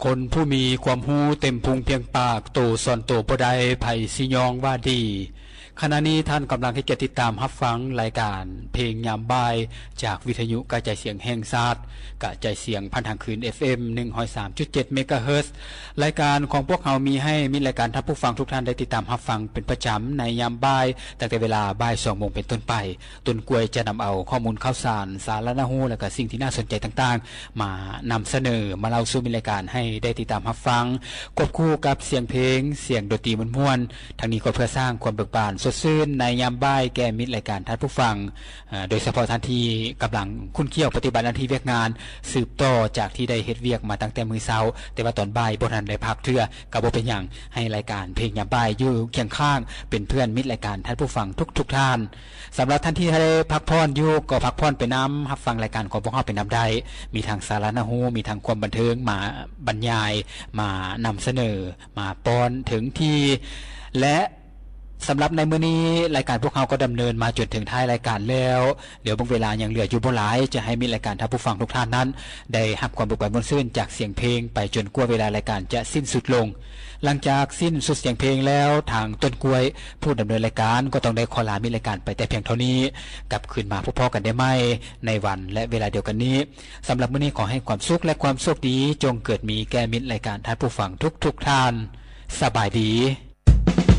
ຄົນຜູ້ມີຄວາມຮູ້ເຕັມພຸງພຽງປາກ, ໂຕສອນໂຕບໍ່ໄດ້, ໃຜຊິຍ້ອງວ່າດີ. ຂະນະນີ້ທ່ານກຳລັງໃຫ້ກຽດຕິດຕາມຮັບຟັງລາຍການເພງຍາມບ່າຍ ຈາກວິທະຍຸກະຈາຍສຽງແຫ່ງຊາດ, ກະຈາຍສຽງຜ່ານທາງຄື້ນ ເອັຟເອັມ ໜຶ່ງຮ້ອຍສາມຈຸດເຈັດ ເມກາເຮີດ. ລາຍການຂອງພວກເຮົາມີໃຫ້ມິດລາຍການທ່ານຜູ້ຟັງທຸກທ່ານໄດ້ຕິດຕາມຮັບຟັງເປັນປະຈຳໃນຍາມບ່າຍ, ຕັ້ງແຕ່ເວລາບ່າຍສອງໂມງເປັນຕົ້ນໄປ. ຕົ້ນກ້ວຍຈະນຳເອົາຂໍ້ມູນຂ່າວສານ, ສາລະໜ້າຮູ້ ແລະ ກະສິ່ງທີ່ໜ້າສົນໃຈຕ່າງໆ ມານຳສະເໜີ, ມາເລົ່າສູ່ມິດລາຍການໃຫ້ໄດ້ຕິດຕາມຮັບຟັງ, ຄວບຄູ່ກັບສຽງເພງ, ສຽງດົນຕີມ່ວນໆ, ທັງນີ້ກໍເພື່ອສ້າງຄວາມເບີກບານສົດຊື່ນໃນຍາມບ່າຍແກ່ມິດລາຍການທ່ານຜູ້ຟັງ, ເອີ ໂດຍສະເພາະທ່ານທີ່ກຳລັງຂຸ້ນຂ້ຽວປະຕິບັດໜ້າທີ່ວຽກງານ ສືບຕໍ່ຈາກທີ່ໄດ້ເຮັດວຽກມາຕັ້ງແຕ່ມື້ເຊົ້າ, ແຕ່ວ່າຕອນບ່າຍບໍ່ທັນໄດ້ພັກເທື່ອ, ກໍບໍ່ເປັນຫຍັງ, ໃຫ້ລາຍການເພງຍາມບ່າຍຢູ່ຄຽງຂ້າງເປັນເພື່ອນມິດລາຍການທ່ານຜູ້ຟັງທຸກໆທ່ານ. ສຳລັບທ່ານທີ່ໄດ້ພັກຜ່ອນຢູ່ ກໍພັກຜ່ອນໄປນຳ, ຮັບຟັງລາຍການຂອງພວກເຮົາໄປນຳໄດ້. ມີທັງສາລະໜ້າຮູ້, ມີທັງຄວາມບັນເທີງ, ມາບັນຍາຍ, ມານຳສະເໜີ, ມາປ້ອນເຖິງທີ່ ແລະ ສຳລັບໃນມື້ນີ້ ລາຍການພວກເຮົາກໍດຳເນີນມາຈົນເຖິງທ້າຍລາຍການແລ້ວ. ດຽວເບິ່ງເວລາຍັງເຫຼືອຢູ່ບໍ່ຫຼາຍ, ຈະໃຫ້ມິດລາຍການທ່ານຜູ້ຟັງທຸກທ່ານນັ້ນ ໄດ້ຮັບຄວາມເບີກບານມ່ວນຊື່ນຈາກສຽງເພງໄປຈົນກວ່າເວລາລາຍການຈະສິ້ນສຸດລົງ. ຫຼັງຈາກສິ້ນສຸດສຽງເພງແລ້ວ, ທາງຕົ້ນກ້ວຍ ຜູ້ດຳເນີນລາຍການ ກໍຕ້ອງໄດ້ຂໍລາມິດລາຍການໄປແຕ່ພຽງເທົ່ານີ້. ກັບຄືນມາພົບພໍ້ກັນໄດ້ໃໝ່ໃນວັນ ແລະ ເວລາດຽວກັນນີ້. ສຳລັບມື້ນີ້ ຂໍໃຫ້ຄວາມສຸກ ແລະ ຄວາມໂຊກດີ ຈົ່ງເກີດມີແກ່ມິດລາຍການທ່ານຜູ້ຟັງທຸກໆທ່ານ. ສະບາຍດີ.